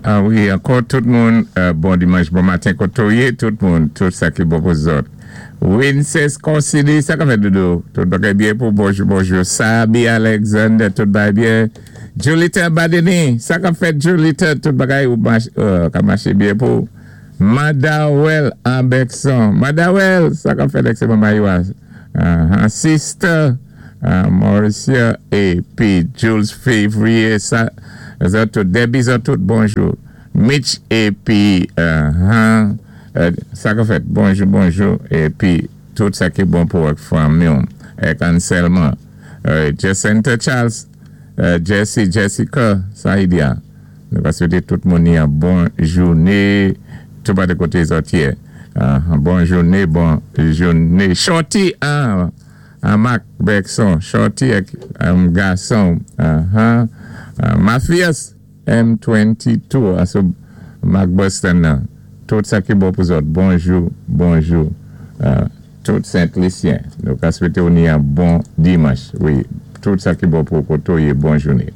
Ah wi, ankò tout moun, bon dimanch, bon maten koté ou yé, tout moun, tout sa ki bon pou zòt. Winces Consili, sa ka fèt, doudou? Tout bagay byen pou bonjou, bonjou. Sabi Alexander, tout bagay byen. Julita Badeni, sa ka fèt, Julita? Tout bagay ou ka maché byen pou. Madawel Abexon, Madawel, sa ka fèt, c'est maman? Sister Mauricia épi Jules Février, sa, zòt tout, Debbie, zòt tout, bonjou. Mitch épi sa ka fèt, bonjou, bonjou, épi tout sa ki bon pou ak fanmi ak Anselma. Jacinta Charles, Jesse, Jessica, Saidia. Nou va swété tout moun yon bon jouné, tout pa de koté zòt yé. Bon jouné, bon jouné. Shorty, ah, Mark Bergson, Shorty ak gason, Matthias M22, aso Mark Boston nan. Tout sa ki bon pou zòt. Bonjou, bonjou. Tout Saint-Lucien. Nou ka swété ou ni yon bon dimanch. Wi, tout sa ki bon pou koté ou yé, bon jouné.